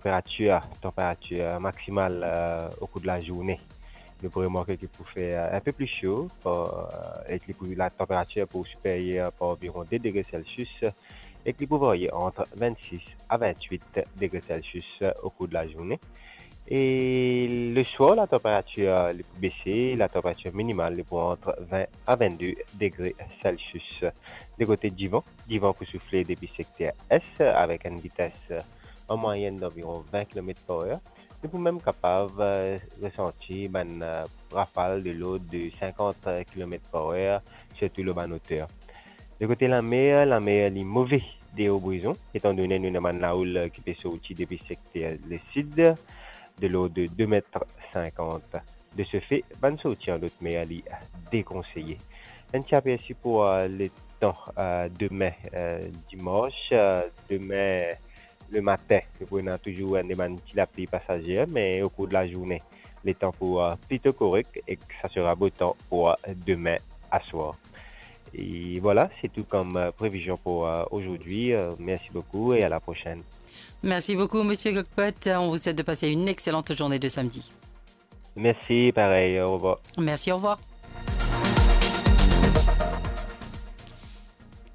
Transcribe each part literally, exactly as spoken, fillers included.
Tanperatir, tanperatir maksimal, eh, okour de lazourne. Nou pou remarke ki pou fer, eh, inpe pli so, par, eh, ek li pou, latanperatir pou siperyer par anviron de degre Celsius, ek li pou varye ant vennsis a vennwit degre Celsius, eh, okour de lazourne. E leswar, latanperatir, eh, li pou bese, latanperatir minimal li pou ant vin a vennde degre Celsius. De kote divan, divan pou soufle depi sekter es avek enn vites, eh, an mwayenn danviron vin kilomet par er. Nou pou mem kapav, eh, resanti bann, eh, rafal de lord de sinkant kilomet par er, sirtou lor bann oter. De kote lamer, lamer li move deor Brizon, etandone nou ena bann laoul, eh, ki pe sorti depi sekter lesid, de lord de de met sinkant. De se fe, bann sorti an lot mer li dekonseye. Enn ti apersi pou, eh, letan, eh, demin, eh, dimans, eh, demin lematin, nou pou ena touzour enn bann ti lapli pasazer, me okour de lazourne, letan pou, eh, plito korek ek sa sera bo tan pou, eh, demin aswar. E vwala, se tou kom, eh, previzion pou, eh, ozordi. Eh, mersi boukou e a la prosenn. Merci beaucoup, Monsieur Cockpot. On vous souhaite de passer une excellente journée de samedi. Mersi, parey, orevwar. Merci, au revoir.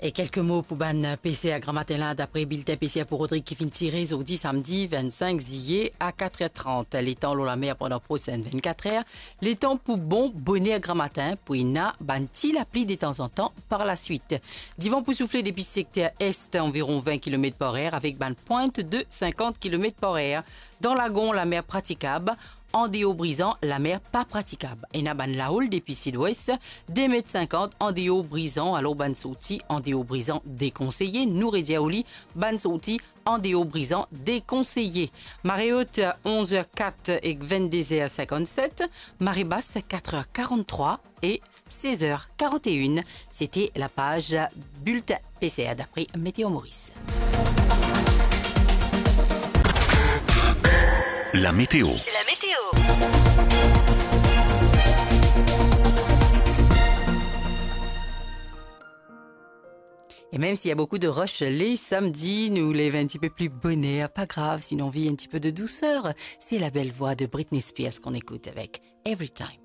E kelke mo pou bann peser gramatin la, dapre biltin peser pou Rodrig ki finn tire zordi samdi vennsink ziye a katr er trant. Letan lor lamer pandan prosenn vennkat er, letan pou bon boner gramatin, pou ena bann ti lapli detanzantan par laswit. Divan pou soufle depi sekter est, anviron vin kilomet par er, avek bann pwint de sinkant kilomet par er. Dan Lagon, lamer pratikab, andeor Brizan, lamer pa pratikab. Ena bann laoul depi sidwes, de met sinkant andeor Brizan, alor bann sorti andeor Brizan dekonseye, nou redir ou li, bann sorti andeor Brizan dekonseye. Mare ot, onz er kat ek vennde er sinkannset, mare bas, katr er karanntrwa e sez er karannteinn. Sete lapaz biltin peser dapre Meteo Moris. La météo. La météo. E mem si ena boukou de ros le samdi, nou lev enn tipe pli boner, pa grav, si nou anvi enn tipe de douser, se la bel vwa de Britney Spears ki nou ekout avek Every Time.